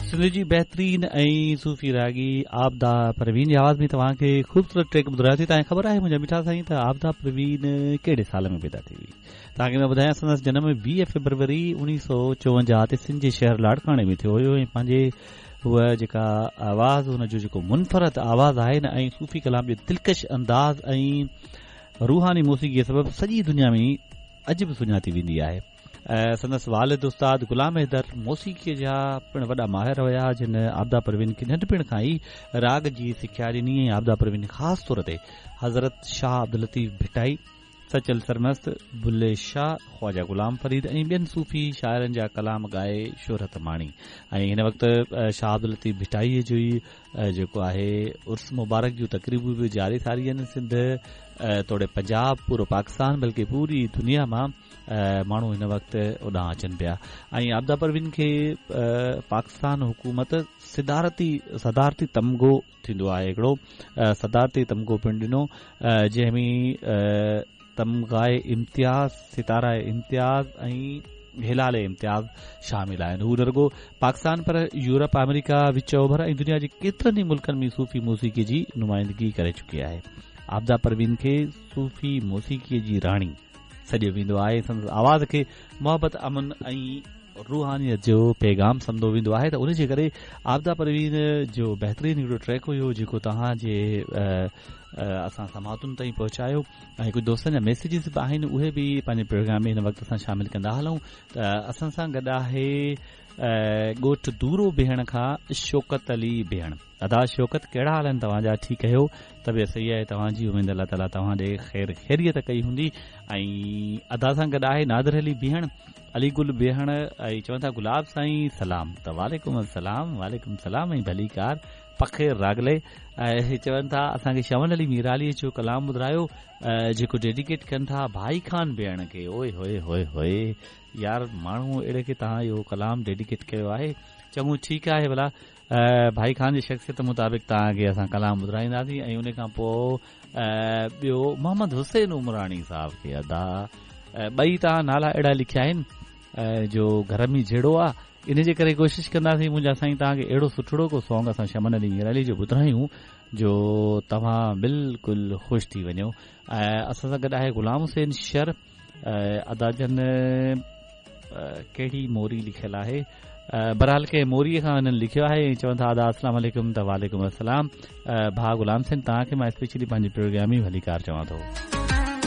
سنڌ جي بهترين ۽ صوفي راڳي عابده پروين جي آواز ۾ توهان کي خوبصورت ٽريڪ ٻڌرايوسين. توهان کي خبر آهي منهنجا مٺا سائين ته عابده پروين ڪهڙي سال ۾ پيدا ٿي هئي؟ توهان کي مان ٻڌايان سندس جنم 20 فيبروري 1954 تي سنڌ جي شهر لاڙڪاڻي ۾ ٿيو هيو ۽ پنهنجي هوء جيڪا آواز هن جو جيڪو منفرد آواز آهي نه ۽ صوفي ڪلام جو دلڪش انداز ۽ روحاني موسيقي سبب سڄي دنيا ۾ اڄ به سڃاتي ويندي آهي. سندس والد استاد غلام حيدر موسيقيء جا پڻ وڏا ماهر هيا، جن عابده پروين کي ننڍپڻ کان ئي راڳ جي سکيا ڏني ۽ عابده پروين خاص طور تي حضرت شاهه عبداللطيف ڀٽائي، سچل سرمست، بلي شاهه، خواجه غلام فريد ۽ ٻين صوفي شاعرن جا ڪلام ڳائي شهرت ماڻي ۽ هن وقت شاهه عبداللطيف ڀٽائيء جو ئي جيڪو آهي عرس مبارڪ جون تقريبون به جاري ساري آهن سنڌ توڙي پنجاب پورو پاڪستان بلڪه پوري دنيا مان ماڻهو هن وقت اوڏانهن اچن پيا ۽ عابده پروين کي پاڪستان حڪومت صدارتي صدارتي تمغو ٿيندو آهي هڪڙو صدارتي تمغو پڻ ڏنو جنهن ۾ تمغائي امتياز ستاره امتياز ۽ هلال امتياز شامل آهن هو نه رڳو پاڪستان پر يورپ آمريڪا وچ اوڀر ۽ دنيا جي ڪيترن ئي ملڪن ۾ صوفي موسيقي جي نمائندگي ڪري چڪي آهي عابده پروين کي صوفي موسيقي جي راڻي سڏيو ويندو آهي. سندس آواز کي محبت، امن ۽ روحانيت جو پيغام سمجهيو ويندو آهي ته ان جي ڪري عابده پروين جو بهترين هڪڙو ٽريڪ هيو جيڪو توهان جي اسان سماعتن تائين پهچايو ۽ ڪجهه دوستن جا ميسيجز به آهن اهي به پنهنجي پروگرام ۾ هن وقت اسان شامل ڪندا هلون ته اسان سان گڏ آهي ڳوٺ دورو بيهڻ کان شوڪت علي بيهڻ. ادا شوڪت ڪهڙا حال آهن توهان جا ٺيڪ آهيو طبيعت صحيح آهي توهان جي اميد الله تعالي توهان ڏي خير خيريت ڪئي هوندي ۽ ادا سان گڏ آهي نادر علي بيهڻ علي گل بيهڻ ۽ چون ٿا گلاب سائين سلام ته وعليڪم السلام وعليڪم السلام ۽ ڀليڪار پخير راغلي ۽ چون ٿا اسان کي شمن علي ميرالي جو ڪلام ٻڌرايو جيڪو ڊيڊيڪيٽ ڪن ٿا ڀائي خان بيهڻ کي اوئي هوئي هوئي هوئي يار ماڻهو اهڙي کي توهان اهو ڪلام ڊيڊيڪيٽ ڪيو آهي چڱو ٺيڪ آهي ڀلا ڀائي خان جي شخصيت مطابق توهان کي اسان ڪلام ٻڌرائينداسين ۽ ان کان پوء ٻيو محمد حسين عمراڻي صاحب کي ادا ٻئي توهان نالا اهڙا لکيا آهن جو گهر ۾ جهيڙو آ ان جي ڪري ڪوشش ڪنداسين منهنجا سائين توهان کي اهڙو سٺڙو ڪو سانگ اسان شمن علي ميرالي جو ٻڌرايون جو توهان بلڪل خوش ٿي وڃو ۽ اسان سان گڏ آهي غلام حسين شر ادا جن ڪهڙي موري لکيل آهي بهرحال ڪنهن موري کان هنن لکيو آهي ۽ چون ٿا ادا السلام عليڪم ته وعليڪم السلام ڀاء غلام حسين توهان کي مان اسپيشلي پنهنجي پروگرام ۾ ڀليڪار چوان ٿو.